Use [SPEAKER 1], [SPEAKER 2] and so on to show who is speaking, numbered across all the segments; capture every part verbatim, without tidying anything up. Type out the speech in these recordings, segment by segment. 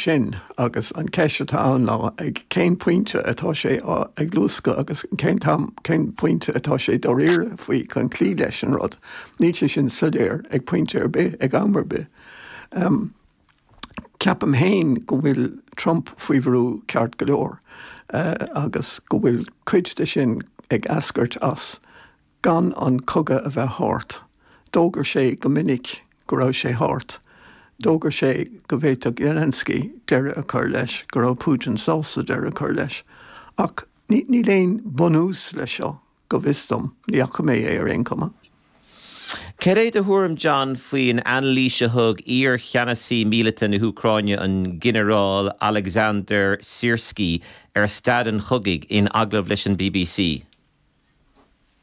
[SPEAKER 1] sin agus an ceist atá ann ná ag cén pointe atá sé ag luascadh agus cén t-am cén pointe atá sé dáiríre faoi chun cloí leis an rud. Níl sé sin soiléir ag pointe ar bith ag am ar bith. Um, Ceapaim féin go bhfuil Trump faoi bhrú ceart go leor uh, agus go bhfuil cuid de sin ag eascairt as gan an cogadh a bheith thart. D'fhógair sé go minic go raibh sé thart. D'fhógair sé go bhféadfadh Zelensky deireadh a chur leis, go raibh Putin sásta deireadh a chur leis. Ach níl aon bunús leis seo go bhfios dom, ní fhaca mé é ar aon chuma.
[SPEAKER 2] Cad é do thuairim John faoin anailís a thug iar-cheannasaí míleata na hÚcráine an Ginearál Alexander Syrskyi ar staid an chogaidh in agallamh leis an BBC.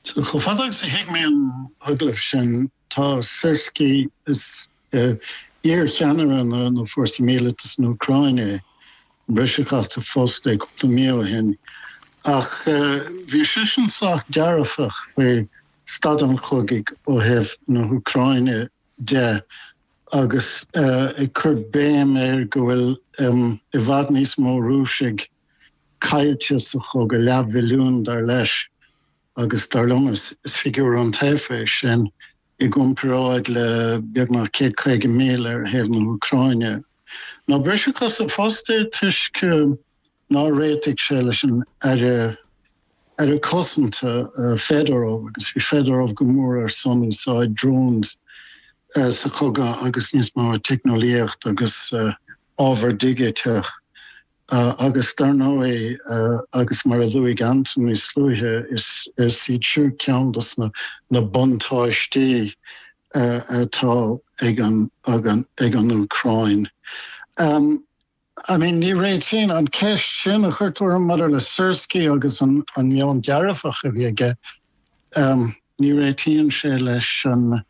[SPEAKER 3] So chomh fada agus a thuig mé an agallamh sin tá Syrskyi is uh, iar-cheannaire na, na fórsa míleata san Úcráine briseadh as a phost é cúpla mí ó shin. Ach uh, bhí seisean sách dearfach faoi staid an chogaidh ó thaobh na hÚcráine de agus uh, ag cur béim ar go bhfuil um, i bhfad níos mó Rúisigh caillte sa chogadh leathmhilliún dar leis agus dar liom is, is figiúr an-taofa sin i gcomparáid le beagnach céad caoga míle ar thaobh na hÚcráine. Ná briseadh as a phost é toisc nár réitigh sé leis an aire aire cosanta uh, Fedorov agus bhí Fedorov go mór ar son úsáid drones uh, sa chogadh agus níos mó teicneolaíocht agus uh, ábhar digiteach. Uh, agus dar ndóigh uh, agus mar a luaigh Anton níos luaithe is is iad siúd ceann dos na, na buntáistí uh, atá ag an, ag an, ag an Úcráin. Um, I mean ní réitíonn an ceist sin a chuir tú maidir le Syrskyi agus an an meon dearfach a bhí aige um, ní réitíonn sé leis an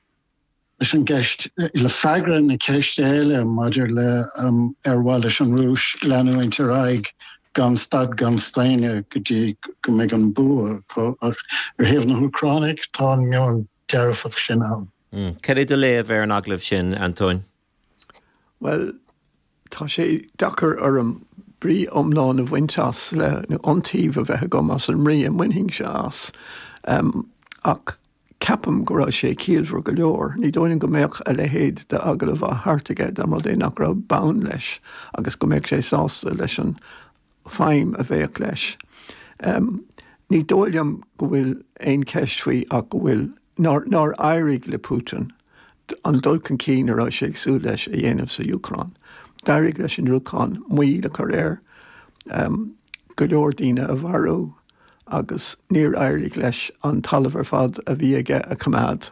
[SPEAKER 3] leis an gceist le freagra na ceiste eile maidir le um, ar mhaith leis an Rúis leanúint ar aghaidh gan stad gan staonadh go dtí go mbeidh an bua ach ar thaobh na hÚcráine tá an meon dearfach sin ann.
[SPEAKER 2] Mm. Cad é do léamh ar an agallamh sin Antóin?
[SPEAKER 1] Well, tá sé deacair orm brí iomlán a bhaint as le nó iontaoibh a bheith agam as an mbrí a mbainfinnse as. Um, ach ceapaim go raibh sé ciallmhar go leor, ní dóigh go mbeadh a leithéid de agallamh á thabhairt aige dá mba rud é nach raibh bonn leis agus go mbeadh sé sásta leis an feidhm a bheadh leis. Um, ní dóigh liom go bhfuil aon cheist faoi ach go bhfuil nár, nár éirigh le Putin an dul chun cinn a raibh sé ag súil leis a dhéanamh sa Úcráin. D'éirigh leis an Úcráin moill a chur air um, go leor daoine a mharú agus níor éirigh leis an talamh ar fad a bhí aige a choimeád.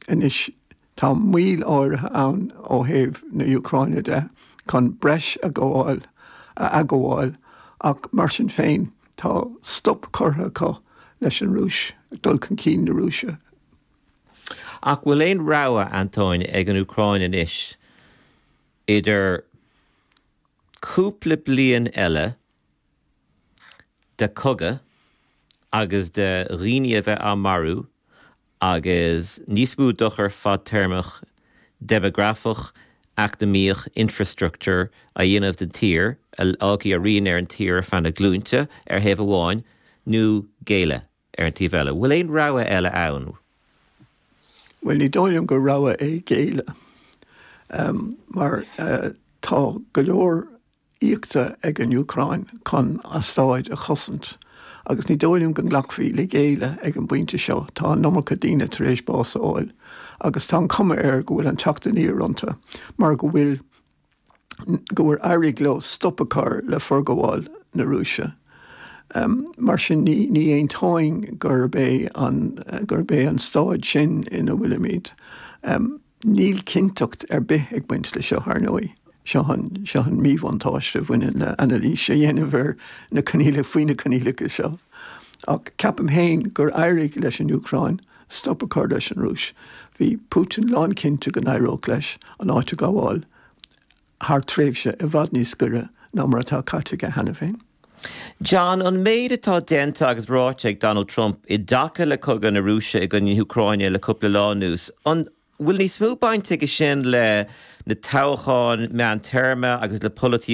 [SPEAKER 1] Anois tá moill áirithe ann ó thaobh na hÚcráine de chun breis a ghabháil a ghabháil ach mar sin féin tá stop curtha acu leis an Rúis dul chun cinn na Rúise.
[SPEAKER 2] Ach bhfuil aon rogha Antóin ag an Úcráin anois idir cúpla bliain eile de chogadh agus de dhaoine a bheith á marú agus níos mó dochar fadtéarmach déimeagrafach eacnamaíoch infrastructure a dhéanamh den tír a fhágfaidh a rian ar an tír feadh na glúinte ar thaobh amháin nó géilleadh ar an taobh eile. Bhfuil aon rogha eile ann?
[SPEAKER 1] Well ní dóigh liom gur rogha é géilleadh. Um, mar uh, tá go leor íoctha ag an Úcráin chun a stáid a chosaint. agus ní dóigh liom go nglacfaí le géilleadh ag an bpointe seo tá an iomarca daoine tar éis bás a fháil, agus tá an chuma air go bhfuil an teacht aniar iontu, mar go bhfuil go bhfuil éirithe leo stop a chur le forghabháil na Rúise. Um, mar sin ní ní aontóinn gurb é an gurb é an staid sin ina bhfuilimid. Um, níl cinnteacht ar bith ag baint le seo ar ndóigh. Seo an seo an míbhuntáiste a bhaineann le anailís a dhéanamh ar na coinníollacha faoi na coinníollacha seo. Ach ceapaim féin gur éirigh leis an Úcráin stop a chur leis an Rúis. Bhí Putin lánchinnte go n-éireodh leis an áit a ghabháil thar tréimhse i bhfad níos giorra ná mar atá caite aige cheana féin.
[SPEAKER 2] John an méid atá déanta agus ráite ag Donald Trump i dtaca le cogadh na Rúise i gcoinne na hÚcráine le cúpla lá anuas. An bhfuil níos mó baint aige sin le na toghcháin meántéarma agus le polaitíocht